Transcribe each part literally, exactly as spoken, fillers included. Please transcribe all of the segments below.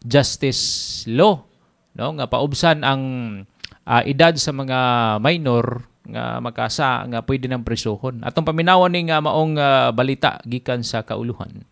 Justice Law, no, nga paubsan ang uh, edad sa mga minor nga makasa nga pwede nang presohon. Atong paminawan ni nga maong uh, balita gikan sa kauluhan.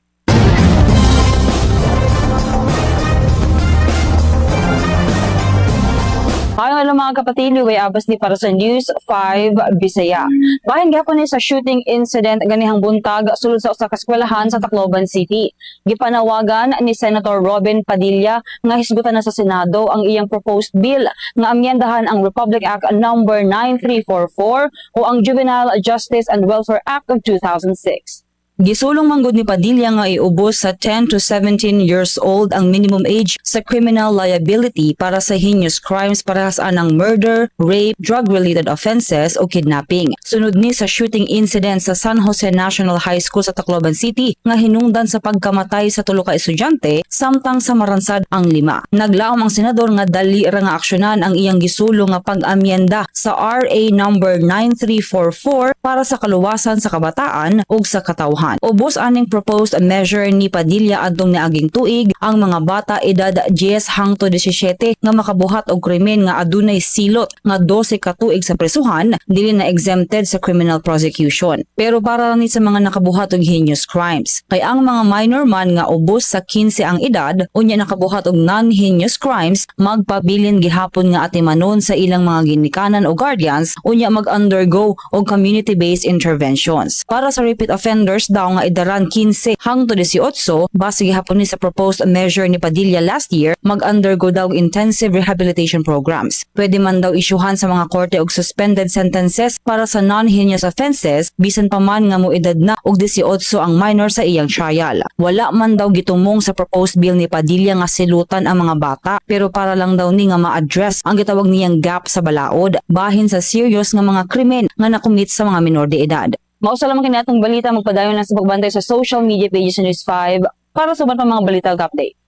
Maayong adlaw mga kapatid, way abas ni para sa News five Bisaya. Bahin gihapon ni sa shooting incident ganihang buntag sulod sa usa ka eskwelahan sa Tacloban City. Gipanawagan ni Senator Robin Padilla nga hisgutan na sa Senado ang iyang proposed bill nga amyendahan ang Republic Act number nine three four four o ang Juvenile Justice and Welfare Act of two thousand six. Gisulong manggod ni Padilla nga iubos sa ten to seventeen years old ang minimum age sa criminal liability para sa heinous crimes parehas anang murder, rape, drug-related offenses o kidnapping. Sunod ni sa shooting incident sa San Jose National High School sa Tacloban City nga hinungdan sa pagkamatay sa tulo ka estudyante samtang sa maransad ang lima. Naglaom ang senador nga dali ra nga aksyonan ang iyang gisulong nga pag-amyenda sa R A number nine three four four para sa kaluwasan sa kabataan ug sa katawhan. Ubos aning proposed measure ni Padilla adtong niaging tuig ang mga bata edad ten hangtod labing-siyete nga makabuhat og krimen nga adunay silot nga dose ka tuig sa presuhan dili na exempted sa criminal prosecution. Pero para ni sa mga nakabuhat og heinous crimes. Kay ang mga minor man nga ubos sa kinse ang edad unya nakabuhat og non-heinous crimes magpabilin gihapon nga atimanon sa ilang mga ginikanan o guardians unya mag-undergo og community-based interventions. Para sa repeat offenders daw nga idaran kinse hangtod labing-otso base gihapon ni sa proposed measure ni Padilla last year mag-undergo daw intensive rehabilitation programs. Pwede man daw isyuhan sa mga korte og suspended sentences para sa non-heinous offenses bisan pa man nga moedad na og labing-otso ang minor sa iyang trial. Wala man daw gitumong sa proposed bill ni Padilla nga silutan ang mga bata pero para lang daw ni nga ma-address ang gitawag niyang gap sa balaod bahin sa serious nga mga krimen nga nakumit sa mga minor de edad. Mausa lamang kini atong balita, magpadayon lang sa pagbantay sa social media pages sa News five para sa uban pa mga balita ug update.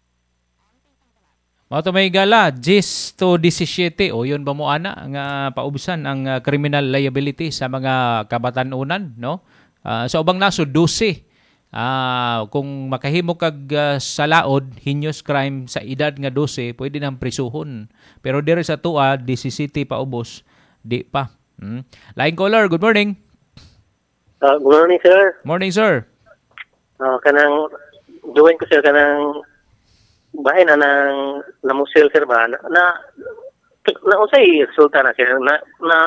Mao to may gala, ten to labing-siyete o yun ba mo ana nga paubsan ang uh, criminal liability sa mga kabatan-unan, no? Uh, sa ubang nasod dose. Uh, kung makahimo kag uh, sa laod heinous crime sa edad nga dose, pwede nang prisuhon. Pero diri sa tua labing-siyete paubos, di pa. Hmm. Line caller, good morning. Uh, good morning, sir. Morning, sir. Uh, kanang join ko sir kanang bahin na ng namusil sir ba na na, na unsay resulta na sir na na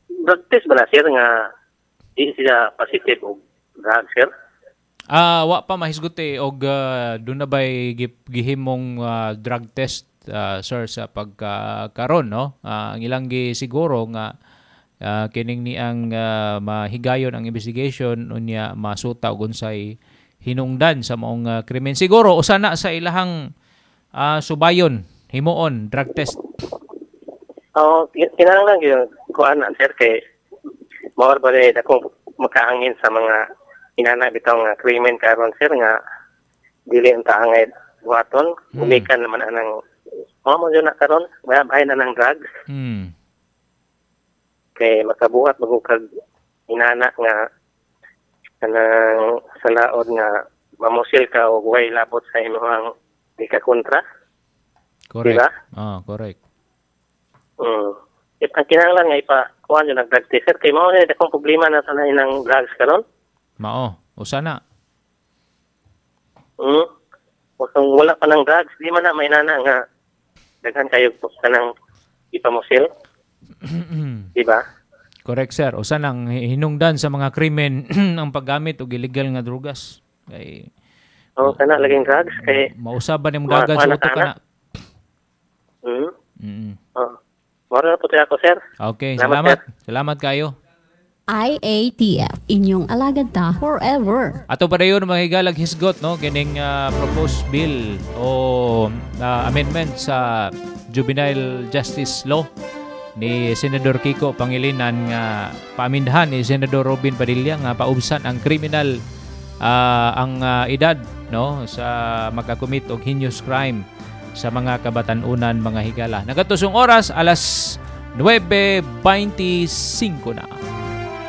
drug test ba na sir nga di sila positive og drug sir? Ah, uh, wa pa mahisgot eh og uh, doon na bay gihimong uh, drug test uh, sir sa pagkaron, no? Uh, ang ilang gisiguro nga Uh, kining ni ang uh, mahigayon ang investigation unya masuta og unsay hinungdan sa maong uh, krimen. Siguro usa na sa ilahang uh, subayon himuon drug test. Oh, kinahanglan gyud kuan na sir kay mao ba rin akong makaangin sa mga inana bitaw nga krimen karon sir nga dili ang taangay buhaton. Hmm. Gumikan naman anang mao mo na karon bahay na ng drugs. Hmm. Kay makabuhat magukag inana nga kanang sa laod nga mamusil ka og way labot sa imong di ka kontra. Correct. Diba? Ah, correct. Mm. It, ang kinahanglan nga ipa kuan yung nag-drug test sir kay mao na akong problema na sa ng drugs karon. Mao, usa na. Mm. Kung wala pa ng drugs, di man na may nana nga daghan kayo kanang ipamusil. Diba? Correct sir. Usa nang hinungdan sa mga krimen ang paggamit og illegal nga drugas. Kay oh, kana laging drugs kay mausaban nimong dagan sa utok kana. Mm. Mm. Oh. Mora po tayo ako sir. Okay, salamat. Salamat, salamat kayo. I A T F, inyong alagad ta forever. Ato pa dayon mga higalag hisgot, no, kining uh, proposed bill o uh, amendment sa Juvenile Justice Law ni Senador Kiko Pangilinan nga paamindahan ni Senador Robin Padilla nga paubsan ang criminal uh, ang uh, edad, no, sa makakomit og heinous crime sa mga kabatan-unan mga higala. Nagatusong oras alas nuwebe beinte singko na.